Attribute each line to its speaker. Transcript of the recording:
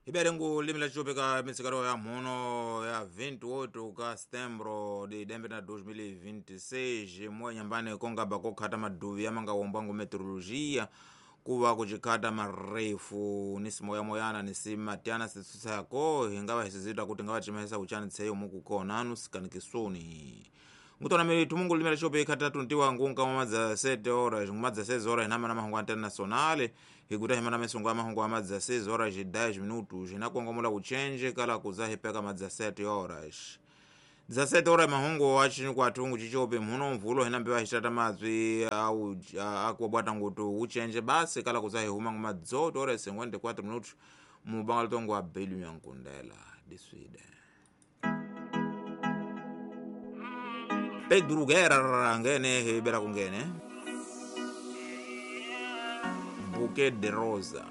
Speaker 1: Iberengu limi la chopeka mitsikalo ya mhuno ya 28 ka setembro de dembe na 2026 moya nyambani kongaba kokhata maduvi yamangawomba ngu meteorologia kuva kuchikhata marefu ni simoyamoyana ni simatyana sitsusako hingava hisizita kuti ngava timahisa kuchani tseyo mukukona anu sikanikisuni ngutona miri tumungu limela chope ikhata tuntiwa ngunka mamadza 7 horas ngumadza 6 horas hinama na mahungu internacional hikuta himana mesungu amahungu amadza 6 horas 10 minutos hinakongomola kuchenje kala kuzahipeka madza 7 horas 17 horas mahungu achini kwatungu chichope mhuno mvulo hinambiwa hixata madzwi au akuwabwata ngutu uchenje basi kala kuzahihuma ngumadza 8 horas 54 minutos mubanga litongo abelu nyankundela diswide Pedro Guerra ngene hibera kungene Bouquet de Rosa.